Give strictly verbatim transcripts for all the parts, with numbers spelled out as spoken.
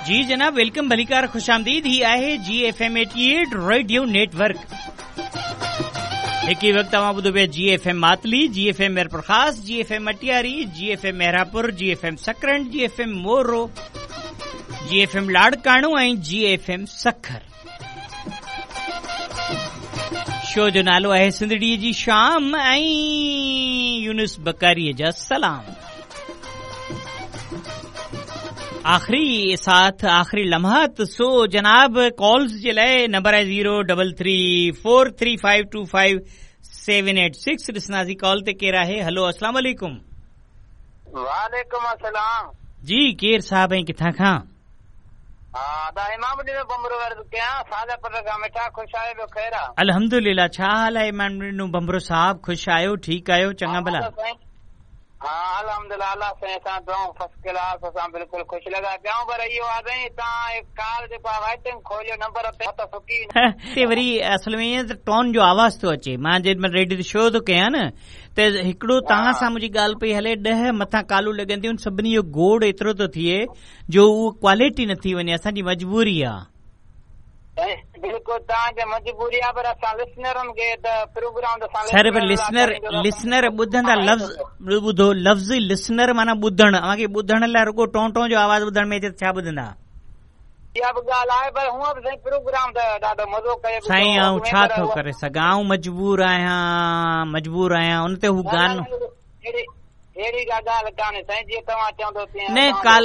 जी जनाब, welcome, भलीकार, खुशामदीद। ही आहे G F M eighty eight radio network. हिक ई वक़्तु तव्हां ॿुधो पिया G F M Matli, G F M Mirpur Khas, G F M Matiari, G F M Mehrabpur, G F M Sakrand, G F M Moro, G F M Larkana ऐं G F M Sukkur. Show जो नालो आहे सिंधड़ीअ जी शाम ऐं यूनुस बकारीअ जा सलाम। आख़िरी साथ, आख़िरी लम्हात। सो जनाब, कॉल्स जे लाइ नंबर आहे zero double three four three five two five seven eight six. ॾिसंदासीं call ते केरु आहे। हलो, अस्सलाम वालेकुम। वालेकुम अस्सलाम। जी, केरु साहब ऐं किथां खां? अल्हम्दुलिल्लाह। छा हाल आहे इमाम ॾिनो बंबरो साहब? ख़ुशि आहियो? ठीकु आहियो? चङा भला? हा, अल्हम्दुलिल्लाह, अल्लाह साईं असां दुआऊं फर्स्ट क्लास, असां बिल्कुलु ख़ुशि लॻा पिया आहियूं। पर इहो आहे साईं, तव्हां कॉल जेको आहे वाइटिंग खोलियो नंबर ते त सुकी हिते वरी असल में ईअं त टोन जो आवाज़ थो अचे। मां जंहिं महिल रेडियो ते शो थो कयां न, त हिकिड़ो तव्हां सां मुंहिंजी ॻाल्हि पई हले, ॾह मथां कालूं लॻंदियूं आहिनि, सभिनी जो गोड़ एतिरो थो थिए जो उहो क्वालिटी नथी वञे। असांजी मजबूरी आहे। बिल्कुलु तव्हांजी मजबूरी आहे, पर असां लिसनरनि खे त प्रोग्राम सर, पर लिसनर लिसनर ॿुधंदा लफ़्ज़ ॿुधो, लफ़्ज़ लिसनर माना ॿुधण। अव्हांखे ॿुधण लाइ रुगो टों टों जो आवाज़ ॿुधण में अचे त छा ॿुधंदा? इहा बि ॻाल्हि आहे, पर हूअं बि साईं प्रोग्राम त ॾाढो मज़ो कयो। साईं, आउं छा थो करे सघां? आउं मजबूर आहियां, मजबूर आहियां। उन ते हू गानो अहिड़ी का ॻाल्हि कान्हे साईं, जीअं तव्हां चवंदो तीअं। न, कॉल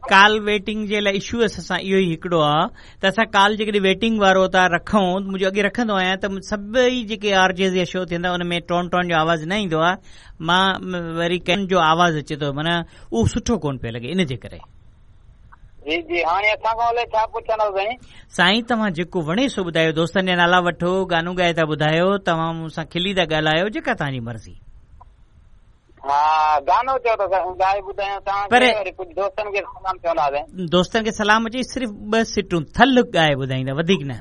कॉल वेटिंग जे लाइ इशू असां सां इहो ई हिकिड़ो आहे त असां कॉल जेकॾहिं वेटिंग वारो था रखूं, मुंहिंजो अॻे रखंदो आहियां त सभई जेके आर जेस जा शो थींदा उन में टोन टोन जो आवाज़ न ईंदो आहे, मां वरी कंहिं जो आवाज़ अचे थो, माना उहो सुठो कोन पियो लॻे, इन जे करे। जी जी, हाणे असां खां अलाए छा पुछंदव साईं? साईं, तव्हां जेको वणे सो ॿुधायो, दोस्तनि जा नाला वठो, गानो ॻाए था ॿुधायो, तव्हां मूंसां खिली था ॻाल्हायो, जेका तव्हांजी मर्ज़ी। हा, गानो चओ त ॻाए ॿुधायूं तव्हांखे, वरी कुझु दोस्तनि खे सलाम चवंदासीं। दोस्तनि खे सलाम चई सिर्फ़ ॿ सिटूं थल ॻाए ॿुधाईंदा, वधीक न।